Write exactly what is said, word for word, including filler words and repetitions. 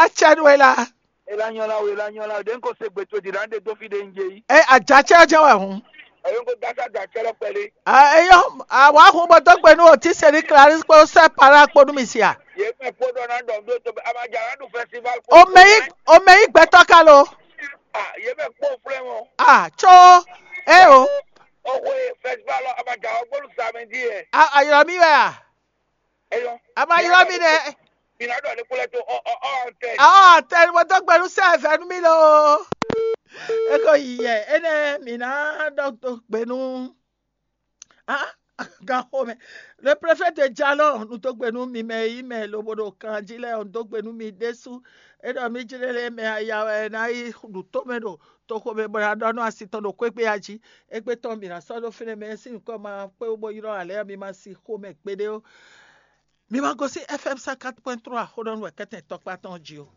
Acɛ nú we la. Ela nyɔla o, ela nyɔla o, ɖe n ko se gbe to ɖi ɖa ɖe dó fi ɖe n dze yi. E adzacɛ jɛ wɛ hun. Ɛyɔ n ko dasa adzacɛ lɔ kpɛɖe. Eyɔ, àwa hun bɔ dó gbe nú òtí sɛni Clarisse kpó sɛ para kpó nú mi sia. Yé mɛ kpó ɖɔ ná ɖɔ ɖó tó amadza ná ɖu festival. Omɛ yí omɛ yí gbɛtɔ ka lo. Ah, yé mɛ kpó flɛ mɔ. Ah, tso. E o. Oxwe festival lɔ amadza ɔgbɔnu samedi yɛ. Ayɔrɔ mi wɛ a. Eyɔ. A ma ylɔ mi nɛ. Mi ná ɖɔ ní kúlẹ̀ tó ɔ ɔ ɔ tẹ. Ɔ tɛ mo dó gbenu sɛ vɛ nú mi lo. E ko yi yɛ enɛ mi ná ɖɔ dó gbenu. Ah, gan xomɛ. Le préfet de Jalon, nu dó gbenu mi mɛ yi mɛ lobo ɖo kan jí lɛ, nu dó gbenu mi ɖésú. E ɖɔ mi jlé lé mɛ aya wɛ ná yi ɖu tó mɛ ɖo toxo mɛ bɔ ná ɖɔ nú asi tɔn ɖo kwégbé ya jí. Égbé tɔn mi ná sɔ́ ɖó fínɛ́ mɛ sín nukɔn ma kpé bó ylɔ́ alɛ mi ma si xomɛ gbeɖé ó. Mi ma gosín F M cent quatre point trois xó ɖɔ nú wɛ kɛ́tɛn tɔkpá tɔn jí ó.